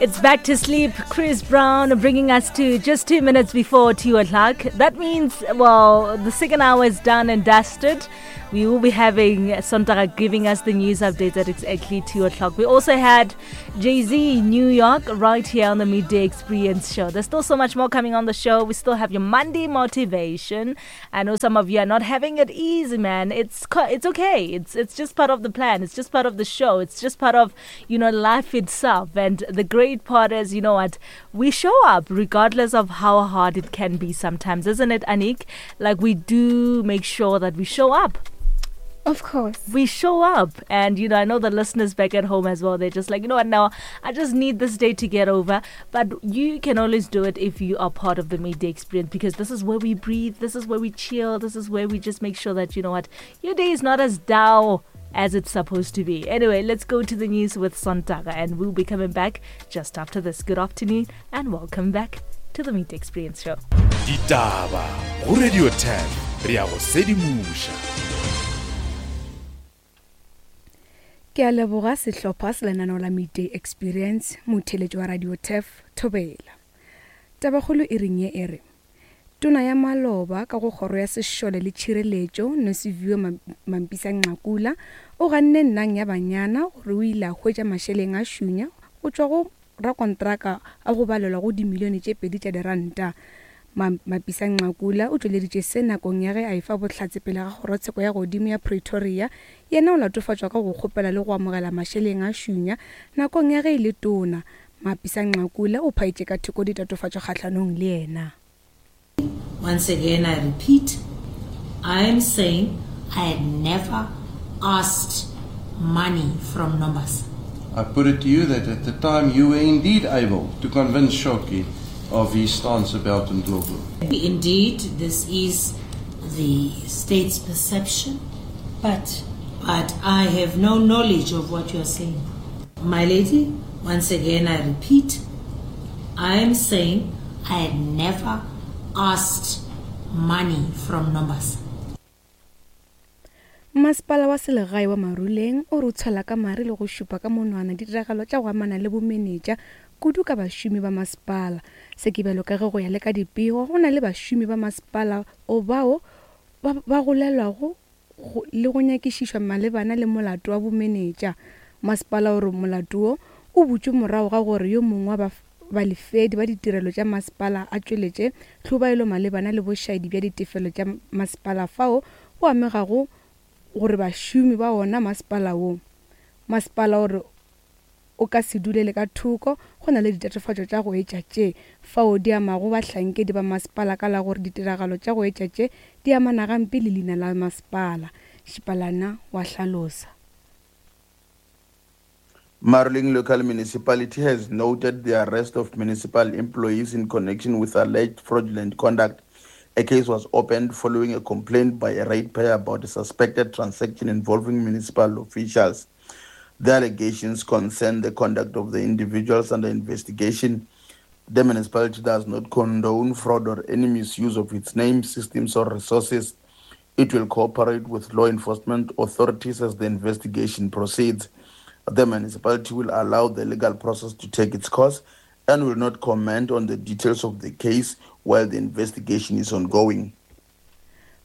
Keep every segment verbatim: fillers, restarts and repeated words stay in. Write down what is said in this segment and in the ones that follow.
It's back to sleep. Chris Brown bringing us to just two minutes before two o'clock. That means, well, the second hour is done and dusted. We will be having Sontaga giving us the news updates at exactly two o'clock. We also had Jay Z New York right here on the Midday Experience show. There's still so much more coming on the show. We still have your Monday motivation. I know some of you are not having it easy, man. It's it's okay. It's it's just part of the plan. It's just part of the show. It's just part of, you know, life itself. And the great part is, you know what, we show up regardless of how hard it can be sometimes, isn't it, Anik? Like, we do make sure that we show up. Of course. We show up. And, you know, I know the listeners back at home as well, they're just like, you know what, now I just need this day to get over. But you can always do it if you are part of the Midday Experience, because this is where we breathe, this is where we chill, this is where we just make sure that, you know what, your day is not as dull as it's supposed to be. Anyway, let's go to the news with Sontaga, and we'll be coming back just after this. Good afternoon and welcome back to the Midday Experience Show. Ditaba go Radio ten, re a go sedimoša. Ke a leboga sehlopha se lenaneo la Midday Experience, motheletši wa Radio Turf Thobela. Tabakgolo e reng ye e re tona ya maloba ka go kgoro ya sešole le tšhireletšo Nosiviwe Mapisa Nqakula o ganne nnang ya banyana gore o ile a hwetša mašeleng a šunya go tšwa go rakontraka a go balelwa go dimilione tše pedi tša diranta. Mapisa Nqakula o tšweleditše se nakong ya ge a efa bohlatse pele ga kgorotsheko ya godimo ya Pretoria. Yena o latofatšwa ka go kgopela le go amogela mašeleng a šunya nakong ya ge e le tona. Mapisa Nqakula o phaetše ka thoko ditatofatšo kgahlanong le yena. Once again, I repeat, I am saying I had never asked money from Nombasa. I put it to you that at the time you were indeed able to convince Shoki of his stance about Ndlovu. Indeed, this is the state's perception, but, but I have no knowledge of what you are saying. My lady, once again, I repeat, I am saying I had never asked money from Nombasa. Masepala wa selegae wa Maruleng o re o tshwela ka mare le go šupa ka monwana ditiragalo tša go amana le bomenetša kudu ka bašomi ba masepala. Se ke bjalo ka ge go ya le ka dipego go na le bašomi ba masepala o bao ba golelwago le go nyakišišwa malebana le molato wa bomenetša. Masepala o re molato wo o butšwe morago ga gore yo mongwe wa balefedi ba ditirelo tša masepala a tšweletše tlhobaelo malebana le bošaedi bja ditefelo tša masepala fao go amegago gore bašomi ba ona masepala wo. Masepala o re o ka se dulele ka thoko go na le ditatofatšo tša go etša tše fao di amago bahlankedi ba masepala ka la gore ditiragalo tša go etša tše di amana gampe le leina la masepala. Šipalana wa hlalosa. Maruleng Local Municipality has noted the arrest of municipal employees in connection with alleged fraudulent conduct. A case was opened following a complaint by a ratepayer about a suspected transaction involving municipal officials. The allegations concern the conduct of the individuals under investigation. The municipality does not condone fraud or any misuse of its name, systems, or resources. It will cooperate with law enforcement authorities as the investigation proceeds. The municipality will allow the legal process to take its course and will not comment on the details of the case while the investigation is ongoing.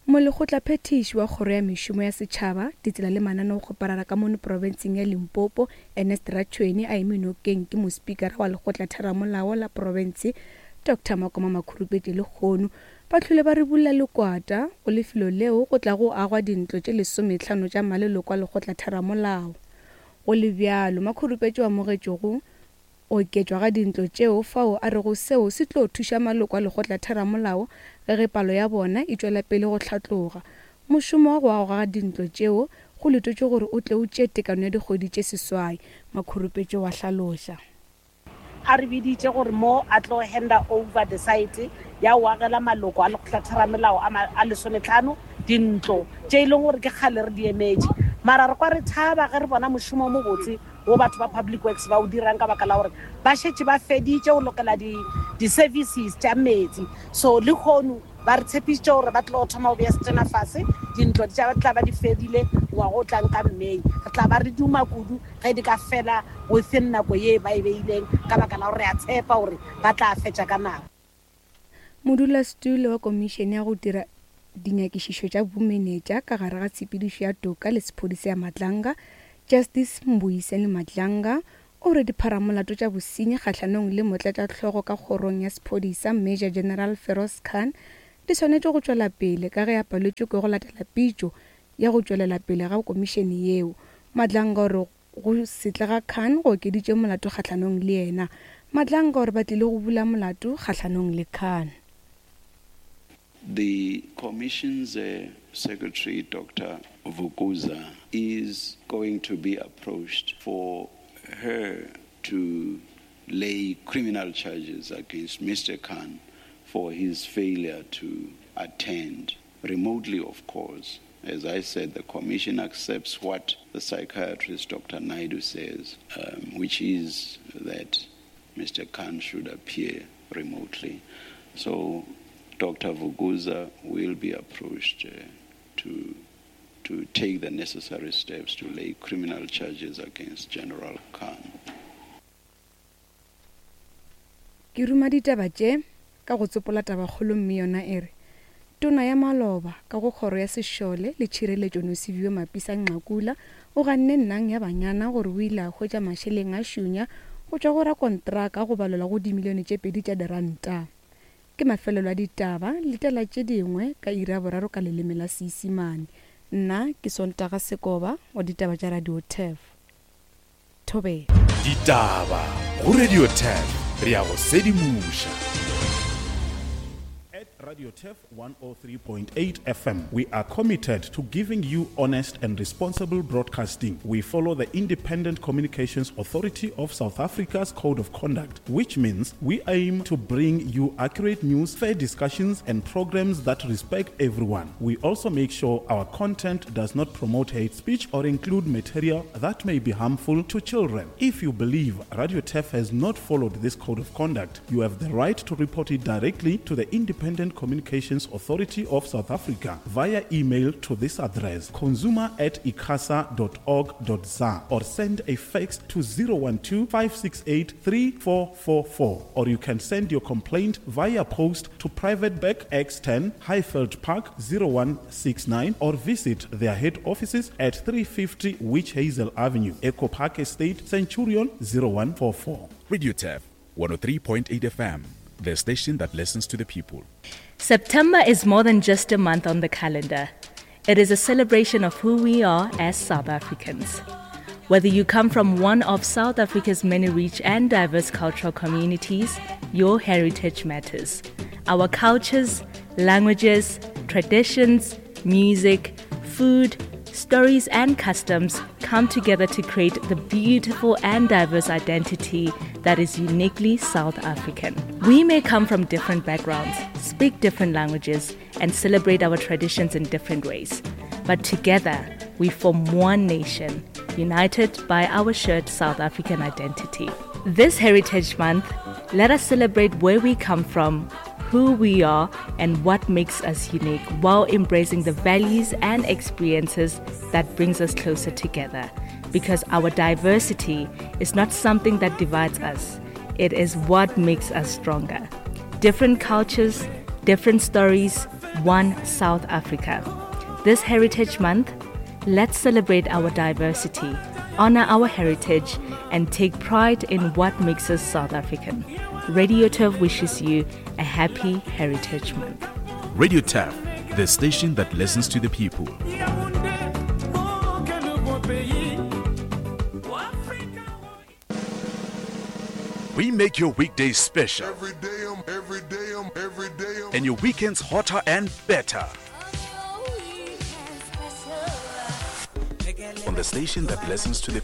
Molekgotlaphethiši wa kgoro ya mešomo ya setšhaba, ditsela le mananeo go parara ka mono profenseng ya Limpopo, Ernest Ratshweni, a eme nokeng ke mospikara wa lekgotlatheramolao la profense Doctor Makoma Makhurupetše lekgono. Ba hlole ba re bulla lekwata go lefelo leo go tla go agwa dintlo tše lesometlhano tša maleloko a lekgotlatheramolao. Go le bjalo, Makhurupetše o amogetše go oketšwa ga dintlo tšeo fao a rego seo se tlo thuša maloko a lekgotlatheramolao ge ge palo ya bona e tšwela pele go hlatloga. Mošomo wa go agwa ga dintlo tšeo go letetšwe gore o tle o tšee tekano ya dikgwedi tše seswai, Makhurupetše wa hlaloša. A re biditše gore mo a tlo handa over the site ya go agela maloko a lekgotlatheramelao a lesometlhano dintlo tše e leng gore ke kgale re di emetše. Mara re kwa re thaba ge re bona mošomo o mobotse wo batho ba Public Works ba o dirang ka baka la gore ba šetše ba feditše go lokela di-services tša metsi. So le kgono ba re tshepišitše gore ba tlo thoma go beya setena fase, dintlo di tla ba di fedile ngwaga o tlang ka May. Re tla ba re duma kudu ge di ka fela within nako ye ba e beileng, ka baka la gore re a tshepa gore ba tla fetša ka nako. Modulasetulo wa komišene ya go dira dinyakišišo tša bomenetša ka gare ga tshepedišo ya toka le sephodisa ya Madlanga, Justice Mbuyiseni Madlanga, o re dipharamolato tša bosenyi kgahlanong le motlatšahlogo ka kgorong ya sephodisa Major General Feroz Khan di swanetše go tšwela pele ka ge a paletšwe ke go latela pitšo ya go tšwelela pele ga komišene yeo. Madlanga o re go se tle ga Khan go okeditše molato kgahlanong le yena. Madlanga o re ba tlile go bula molato kgahlanong le Khan. The Commission's uh, Secretary, Doctor Vukuza, is going to be approached for her to lay criminal charges against Mister Khan for his failure to attend, remotely, of course. As I said, the Commission accepts what the psychiatrist, Doctor Naidu, says, um, which is that Mister Khan should appear remotely. So Doctor Vukuza will be approached uh, to, to take the necessary steps to lay criminal charges against General Khan. Ke ruma ditaba tše ka go tsopola tabakgolo mme yona e re tona ya maloba ka go kgoro ya sešole le tšhireletšo Nosiviwe Mapisa Nqakula o ganne nnang ya banyana gore o ile a hwetša mašeleng a šunya go tšwa go rakontraka go balelwa go dimilione tše pedi tša diranta. Ke mafelelo a ditaba letela tše dingwe ka iri ya boraro ka leleme la Seisimane. Nna ke Sontaga Sekoba wa ditaba tša Radio Turf. Thobela. Ditaba go Radio Turf, re ya go sedimoša. At Radio Turf one oh three point eight F M, we are committed to giving you honest and responsible broadcasting. We follow the Independent Communications Authority of South Africa's Code of Conduct, which means we aim to bring you accurate news, fair discussions, and programs that respect everyone. We also make sure our content does not promote hate speech or include material that may be harmful to children. If you believe Radio Turf has not followed this Code of Conduct, you have the right to report it directly to the Independent Communications Authority of South Africa via email to this address, consumer at icasa dot org dot za, or send a fax to zero one two, five six eight, three four four four, or you can send your complaint via post to Private Bag X ten, Highveld Park zero one six nine, or visit their head offices at three fifty Witch Hazel Avenue, Echo Park Estate, Centurion zero one four four. Radio Turf one oh three point eight F M, the station that listens to the people. September is more than just a month on the calendar. It is a celebration of who we are as South Africans. Whether you come from one of South Africa's many rich and diverse cultural communities, your heritage matters. Our cultures, languages, traditions, music, food, stories and customs come together to create the beautiful and diverse identity that is uniquely South African. We may come from different backgrounds, speak different languages, and celebrate our traditions in different ways. But together, we form one nation, united by our shared South African identity. This Heritage Month, let us celebrate where we come from, who we are, and what makes us unique, while embracing the values and experiences that brings us closer together. Because our diversity is not something that divides us, it is what makes us stronger. Different cultures, different stories, one South Africa. This Heritage Month, let's celebrate our diversity, honor our heritage, and take pride in what makes us South African. Radio Turf wishes you a happy Heritage Month. Radio Turf, the station that listens to the people. We make your weekdays special. Every day, I'm, every day, I'm, every day, I'm. And your weekends hotter and better. On the station that listens to the people.